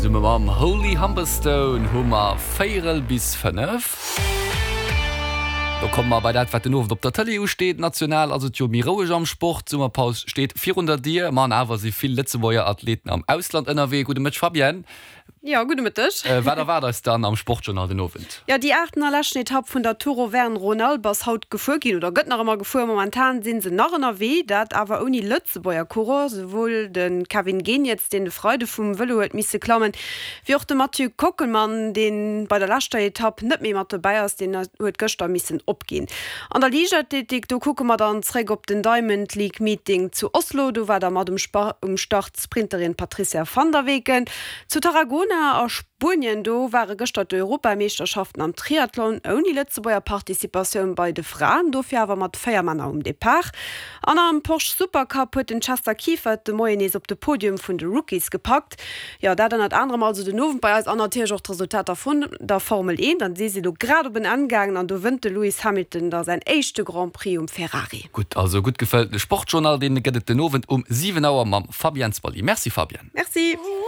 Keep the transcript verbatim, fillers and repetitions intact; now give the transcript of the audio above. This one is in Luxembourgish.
Zesumme mam Holly Humberstone hu mer véierel bis fënnef. Do komme mer bei dat, wat den Owend op der Tëlee usteet. National ass et jo méi roueg am Sport, d'Summerpaus steet virun der Dier. Ma an awer si vill Lëtzebuerger Athleten am Ausland ënnerwee. Gudde Mëtteg Fabienne. Jo, gudde Mëtteg. Wat erwaart eis dann am Sportjournal den Owend? Jo, déi aachten a leschten Etapp vun der Tour Auvergne-Rhône-Alpes ass haut gefuer ginn oder gëtt nach ëmmer gefuer. Momentan si se nach ënnerwee, dat awer ouni Lëtzebuerger Coureur. Souwuel de Kevin Geniets, deen de Freide vum Vëlo huet misse klammen, wéi och de Mathieu Kockelmann, dee bei der leschter Etapp net méi mat dobäi ass, deen huet gëschter missen opginn. An der Liichtathletik, do kucke mer dann zréck op den Diamond League Meeting zu Oslo. Do war da mat um Start d'Sprinterin Patricia van der Weken. Zu Tarragona a Spuenien, do ware gëschter d'Europameeschterschaften am Triathlon, ouni Lëtzebuerger Participatioun bei de Fraen, dofir awer mat véier Männer um Depart. An am Porsche Supercup huet den Chester Kiefert de Moien nees op de Podium vun de Rookies gepackt. Jo, dat ënnert anerem also den Owend bei eis an natierlech och d'Resultater vun der Formel eent. An déi si lo grad op en Enn gaangen an do wënnt de Lewis Hamilton da säin éischte Grand Prix um Ferrari. Gutt, also e gutt gefëlltene Sportjournal, dee gëtt et den Owend um siwen Auer mam Fabienne Zwally. Merci Fabienne. Merci.